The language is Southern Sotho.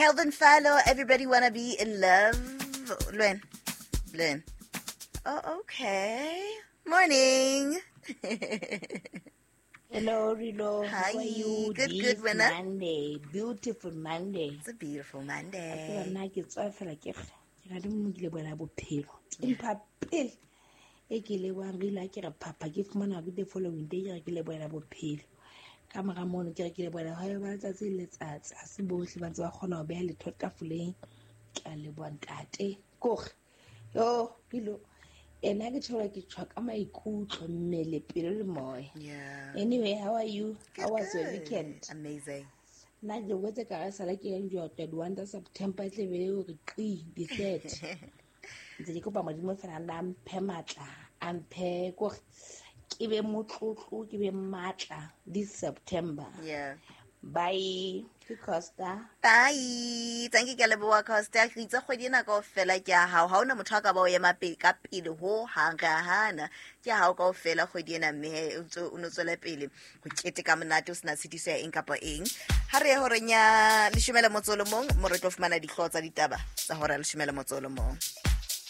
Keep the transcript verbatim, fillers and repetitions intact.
Calvin Fallo, Everybody Wanna Be in Love. Lwen. Lwen. Oh, okay. Morning. Hello, Rilo. Hi. How are you? Good, This good, winner. Monday. Beautiful Monday. It's a beautiful Ke Monday. nna ke tswa fela ke re ke ra le mo ke lebohela bophelo. Ke mpha pele e ke lebohang Rilo ha ke re phapha ke fumana hore the following day ke re ke lebohela bophelo. Ka mora mono ke re ke lebohela ha ba letsatsi le letsatsi ha se bohle ba ntse ba kgona ho beha letho tafoleng. Ke a leboha ntate. Kore yo Rilo ena ke tjho ke tjho ka maikutlo mmele pelo le moya. Yeah. Anyway, how are you? Good, How was your good. weekend? Amazing. Nna ke wetse ka re sala ke yang jwa twenty-one tsa September tle be hore qi the third. Ntse ke kopa Modimo fela a mphe matla, a mphe kore ke be motlotlo, ke be matla this September. Yeah. Bye. Ke Costa. Bye. Thank you, ke leboha Costa. Re itse kgwedi ena kaofela ke ya hao. Ha hona motho a ka ba o ema pele ka pele ho hang re a hana. Ke ya hao kaofela kgwedi ena mme he o ntso o no tswela pele ho keteka monate o sena tshitiso ya eng kapa eng. Ha re ye horeng ya leshome le motso o le mong, mo re tlo fumana dihlooho tsa ditaba tsa hora ya leshome le motso o le mong.